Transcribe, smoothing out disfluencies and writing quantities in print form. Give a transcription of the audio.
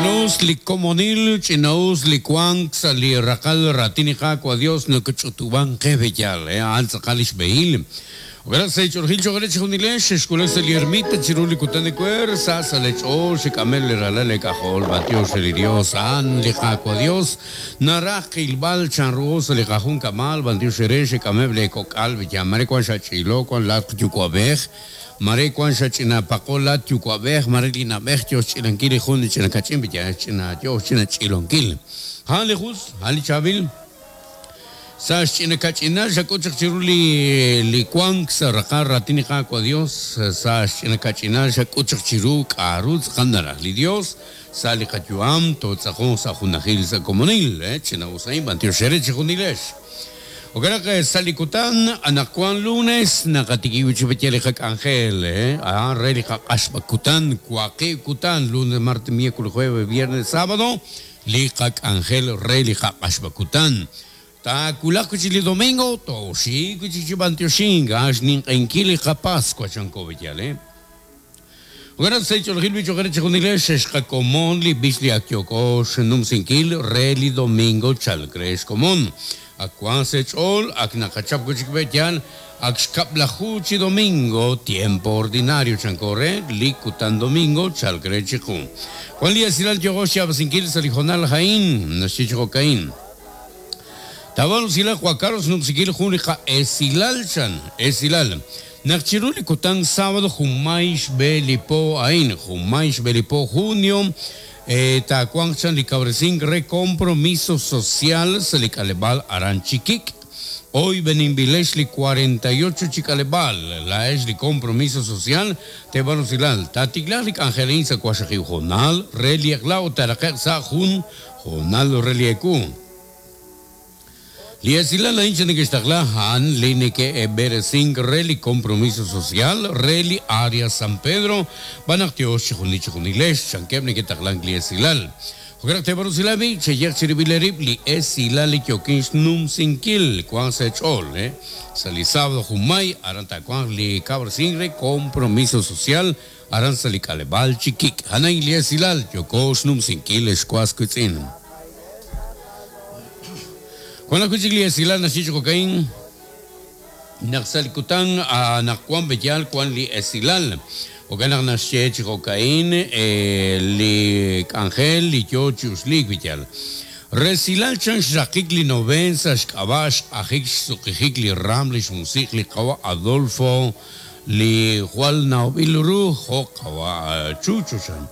Ch'ina'us li komonil, ch'ina'us li wank sa' li raqal raatin li Qaawa' Dios nokch'utub'ank qe b'eyal, a'an tz'aqal lix b'ehil. Jo'kan naq sa' eech'oolejil choq' re chejunilex xexwulak sa' li ermita chiru li kutan ewer, sa sa' lee ch'ool xek'ameb' li ralal eek'ajol, b'antiox re li Dios, a'an li Qaawa' Dios naraj qilb'al chanruho sa' li qajunkab'al, b'antiox eere xek'ameb' lee kok'al b'eyal, mare wan xach'ilo, wan laatq yuwa'b'ej, Mare wank xach'ina paqo laat yuwa'b'ej, mare li na'b'ej yo xch'ilankil li jun li ch'ina kach'in b'iyal xch'ina yo xch'ina ch'ilonkil. A'an li jus, a'an li chaab'il. Sa' xch'ina kach'inal xak'ut chaq chiru li li wank sa' raqal raatin li Qaawa' Dios, sa' xch'ina kach'inal xak'ut chaq chiru k'a'ru tz'aqal naraj li Dios sa' li qayu'am, tootz'aqonq sa' junajil sa' komonil. Ch'ina-us a'in, b'antiox eere chejunilex. Jo'kan naq sa' li kutan anaqwan lunes naqatikib' wi' chik b'ayaq li qak'anjel, a'an re li qaq'axb'ak kutan, waqib' kutan, lunes, martes, miércoles, jueves, viernes, sábado, li qak'anjel re li qaq'axb'ak kutan. Taawulaq wi' chik li domingo, tooxik wi' chik chi b'antioxink, a'an xninq'ehinkil li qaPascua, chanko b'ayal, eh. Jo'kan naq sa' ch'oolejil b'ich ojer chejunilex xe'xqakomon li b'ich li ak yooko xnumsinkil re li domingo chalk re xkomon. Ak wank sa' eech'ool, ak naqachap wi' chik b'e yaal, ak xkab'laju chi domingo, tiempo ordinario chanko re li kutan domingo chalk re chiqu. Wan li esilal yooko xyaab'asinkil sa' li hoonal a'in, naxye chi jo'ka'in. Taawal usilal Juan Carlos xnumsinkil jun li qa'esilal chan, esilal. Naq chiru li kutan sábado junmay xb'e li po a'in, junmay xb'e li po junio, taawanq chan li kawresink re compromiso social sa' li k'aleb'aal aran Chikik'. Oyb'eninb'ilex li 48 chi k'aleb'aal, laa'ex li compromiso social teeb'an usilal. Taatiklaaq li k'anjel a'in sa' waqxaqib' hoonal re li eq'la ut taaraqe'q sa' jun hoonal re li ewu. Li esilal a'in chi neke'xtaqla a'an li neke'b'eresink re li compromiso social re li Area San Pedro, b'an naq tyox chijunil chijunilex, chankeb' neke'taqlank li esilal. Jo'kan naq teeb'an usilal b'i', cheyeq chirib'il eerib' li esilal li yookin xnumsinkil, wanq sa' eech'ool, sa' li sábado junmay, aran taawanq li kawresink re compromiso social aran sa' li k'aleb'aal Chikik'. A'an a'in li esilal yooko xnumsinkil ex was wiitz'in. Wan ajwi' chik li esilal naxye chi jo'ka'in, naq sa' li kutan anaqwan b'eyal wan li esilal. Jo'kan naq naxye chi jo'ka'in li k'anjel li yo chi uxliik b'eyal. Resilal chan xraqik li noveen sa' xk'ab'a' xq'ajik xsuqijik li raam li xmusiq' li qawa' Adolfo li jwal nawb'il ru jo' qawa' Chucho chan.